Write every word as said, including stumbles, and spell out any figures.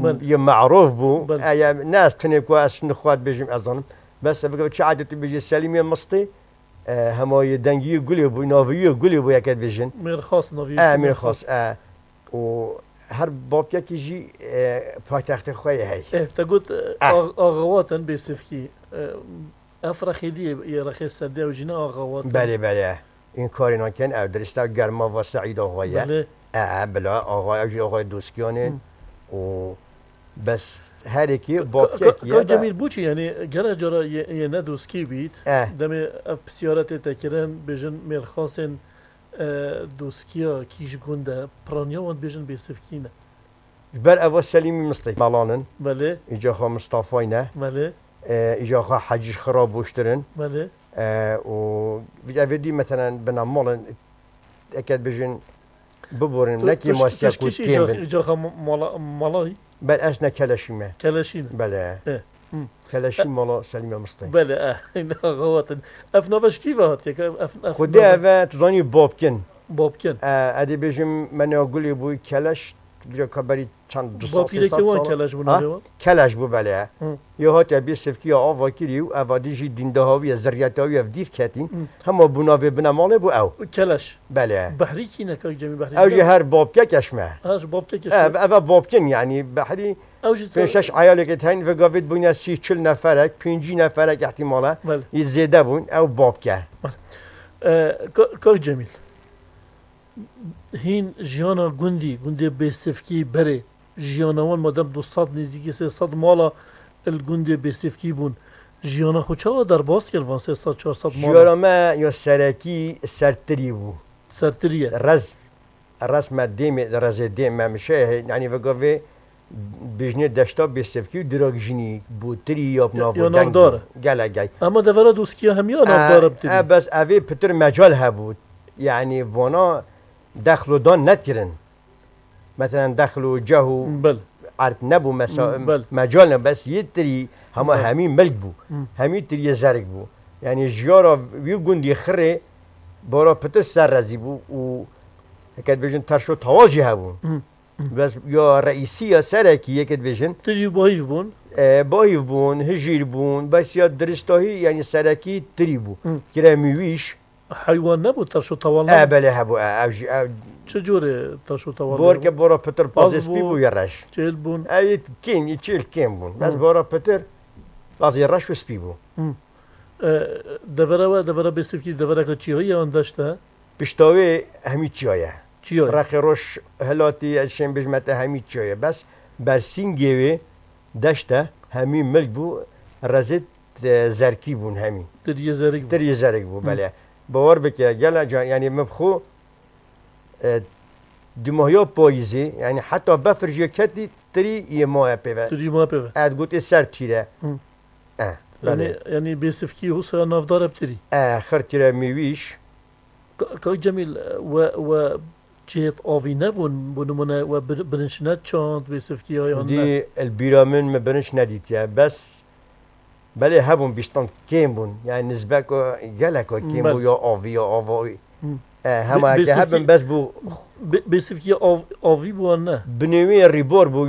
Belê. Yê me'rûf bû. Belê. E, ya, ne ez tenê ku ez şinî xwe dibêjim, ez zanim. Bes ev çi edet tu bêjî Selîmê Mistê, e, hema yê dengî yê gulê bû, navî yê gulê bû, yeke dibêjin. Mêrxas navî E, yê Mêrxas, e. Û her bapkekî jî, e, paytextê xwe yê hey. E, te got, e, E. Ax-, Axawatin Bêsifkî. E, ev rexê dî yê, yê rexê Sedê ew jî ne Axawatin. Belê, belê. În karê nakin ew dirist e, germa va Seîd Axa ye. Belê. E, e, bila, Axa, ew jî Axayê Doskiyan in. Hı. Û bes her yekî Ka-, bapkek ka-, ye Ka de. Cemîl, boçî, yanî, gelek cara yê, yê ne Doskî bît. E. Demê ev pisyare tê te kirin, bêjin mêrxasên, e, Doskiya kî ji gund e, piraniya wan dibêjin Bêsifkî ne. Ji ber eva Selîmî Mistê melan in. Belê. Îca xwe Mistafayî ne. Belê. E, îca xwe Hecî Xira boştir in. Belê. E, û evê dî, meselen, bina mal in, eke dibêjin, biborin, Tu, nekî tu, masiya tu ku kî kêm îca, bin. Îca xwe ma-, mala, malayî? Bel ez ne Keleşî me. Keleşî ne? Belê. E, hı. Keleşî E, mala Selîmê Mistê. Belê, e, îna xewatin. Ev nave ji kî ve hatiye? Ev, ev Xwedê nave ev e, tu zanî Bobkin. Bobkin. E, edê bêjim, me ne gulê bû Keleş, vîra ka berî çend du sal, sê sal Bapîrekê wan sal. Keleş bû Ha? navê wan? Keleş bû, belê. Hı. Yo hatiye Bêsifkî ya ava kirî û evadî jî dîndaha wî ye, zirriyeta wî ye, ev dîv ketîn. Hı. Hema bû navê bine malê bû ew. Keleş. Belê. Behrî kî ne, kak Cemî Behrî Ew jî ne? Her Bobkek eş me. Ha, ji Bobkek eş Ev, me. Ev e Bobkin, yanî Behrî Ew jî pênc şeş eyalekê teyn ve gavêt bûne sî çil neferek, pêncî neferek ihtimale. Belê. Yî zêde bûn, ew Bobke. Belê. E, ka-, kak Cemîl. Hîn jiyana gundî, gundê Bêsifkî berê, jiyana wan madem du sed nêzîkî sê sed mala li gundê Bêsifkî bûn, jiyana xwe çawa derbas kir van sê sed çar sed mala? Jiyana me ya serekî sertirî bû. Sertirî ye. Rez, rez me dêmê, rezê dêm me mişe, yanî vegavê bijnê deşta Bêsifkî û dirag jinî bû tirî ya Ya, navdeng ya navdar bû. E. Gelek gel. Ama devera Doskiya hemiya E, navdar e, bitirî. E, bes evê pitir mecal hebû. Yanî vana dexlo dan netirin. Meselen, dexlo, ceh û Bel. Erd nebû, mesa-, Bel. Mecal ne, bes yê tirî hema Bel. Hemî milk bû. Hı. Hemî tiriyê zerik bû. Yanî jiyara wî gundî xirê bara pitir ser rezî bû û heke dibêjin terşo tawal jî hebû. Hı. Hı. Bes ya reîsî ya serekî yeke dibêjin. Tirî bahîv bûn. E, bahîv bûn, hijîr bûn, bes ya diristahî, yanî serekî tirî bû. Hı. Kire mîwîş. Heywan nebû, terş û tewal E, nebû? Belê hebû, e, ev jî, ev Çi cûrê terş û tewal Borke hebû? Bora pitir pazê Paz spî bû, bû ya reş. Çêl bûn. Ev yê kêm, yê çêl kêm bûn. Bes Hı. Bora pitir pazê reş û spî bû. Hı. E, devera we, devera Bêsifkî, devereke çiyayî ye an deşt e? Pişta wê hemî çiya ye. Çiya ye. Rexê roj hilatî, ez şên bijmete hemî çiya ye. Bes bersîngê wê deşt e, hemî milk bû, rezê e, zerkî bûn hemî. Tiriyê zerik bû. Tiriyê zerik bû, Hı. Belê. Bawer bike, gela can, yanî min bi xwe, e, dumahiya payîzê, yanî heta befir jê ketî, tirî yê maye pê ve. Tirî maye pê ve. E, gotê ser tîre. Hı. E, Yanî, belê. Yanî Bêsifkî husa navdar e bi tirî. E, xir tîre mîwîş. Ka-, Kak Cemîl, we, we cihêt avî nebûn, bo nimûne we bir-, birinç neçand, Bêsifkî ya yan ne? Dî li bîra min min birinç nedîtiye. Bes belê hebûn bîstan kêm bûn. Yani nizbeka geleka kêm Belê. Bû ya avî ya ava. Hı. E, Bê-, hema ke Bêsifkî-, hebin bes bû Bê-, Bêsifkî av-, avî bû an ne? Binêwî rîbor bû.